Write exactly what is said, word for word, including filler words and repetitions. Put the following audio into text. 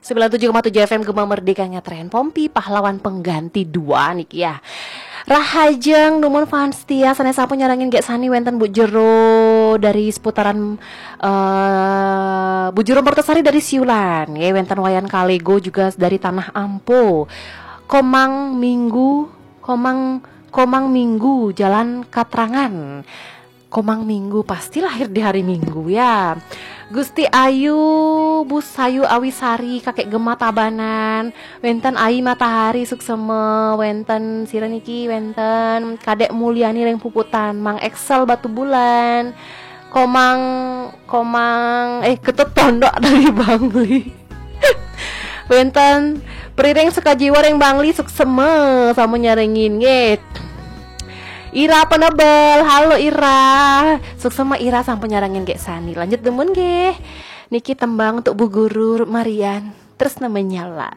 Sembilan tujuh koma tujuh F M Gema Merdeka Ngetren Pompi, pahlawan pengganti dua niki ya. Rahajeng numun fans setia sané sampun nyarengin gék sani wénten Bu Jero dari seputaran eh Bu Jero Mertasari dari Siulan, ya wénten Wayan Kalego juga dari Tanah Ampo. Komang Minggu, Komang Komang Minggu Jalan Katrangan. Komang Minggu pasti lahir di hari Minggu ya. Gusti Ayu, Bu Sayu Awisari, Kakek Gema Tabanan, wénten Ayi Matahari Suksema, wénten sira niki, wénten Kadek Mulyani ring Puputan, Mang Excel Batubulan, Komang Komang eh Ketut Tondok dari Bangli. Wénten Priring Sukajiwa ring Bangli Suksema sampun nyarengin nggih. Ira Penebel, halo Ira. Suksema Ira sampun nyarengin gék sani. Lanjut demen nggih. Niki tembang untuk Bu Guru Marian. Terus namanya lah.